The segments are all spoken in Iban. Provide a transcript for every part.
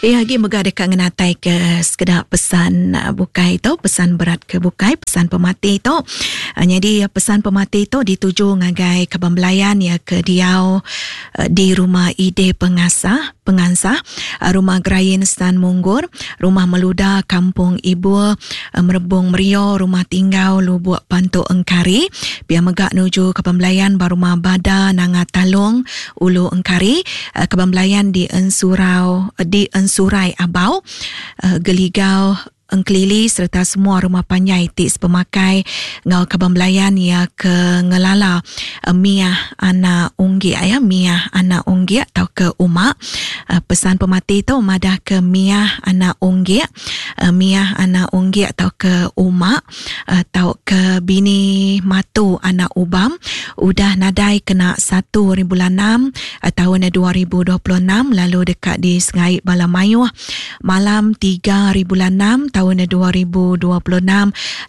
Iya agi mega deka ngenatai ke sekeda pesan bukai tu, pesan berat ke bukai, pesan pemati tu. Nyadi pesan pemati tu dituju ngagai kaban belayan iya ke diau di Rumah Ide Pengasah, Pengansah, Rumah Gerain San Munggur, Rumah Meluda Kampung Ibur, Merebong Merio, Rumah Tinggau Lubuk Pantu Engkari. Pia mega nuju kaban belayan ba Rumah Bada Nanga Talong, Ulu Engkari, Kaban Belayan di Ensurau di Ensurai Abau, Geligau Engkelili sereta semua rumah panjai ti sepemakai enggau kaban belayan iya ke ngelala Miah anak Unggik ya Miah anak Unggik tauka Uma. Pesan pemati tu madahka Miah anak Unggik, Miah anak Unggik tauka Uma. Tauka bini Matu anak Ubam udah nadai kena satu hari bulan enam taun 2026 lalu deka disengai bala mayuh malam tiga hari bulan enam taun 2026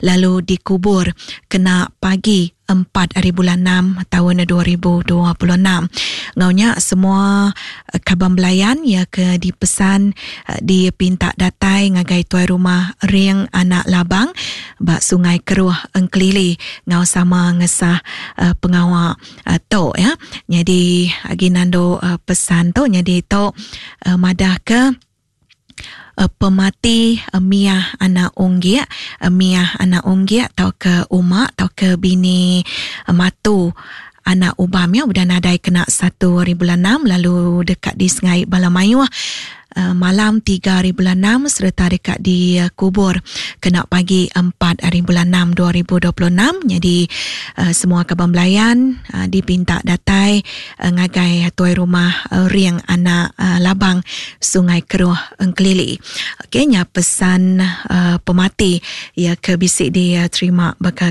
lalu dikubur kena pagi empat ari bulan enam taun 2026. Enggau nya semua kaban belayan iya ke dipesan dipinta datai ngagai tuai rumah Ring Anak Labang ba Sungai Keruh Engkelili enggau sama ngesah pengawa tu ya. Nyadi agi nandu pesan tu nyadi tu madahka Pemati Miah anak Unggik, Miah anak Unggik tauka Uma tauka bini Matu anak Ubam iya udah nadai kena satu hari bulan enam lalu deka disengai bala mayuh malam tiga hari bulan enam sereta deka dikubur kena pagi empat hari bulan enam 2026 nyadi semua kaban belayan dipinta datai ngagai tuai rumah Ring anak Labang Sungai Keruh Engkelili. Okey nya pesan pemati iya ke bisi diterima baka.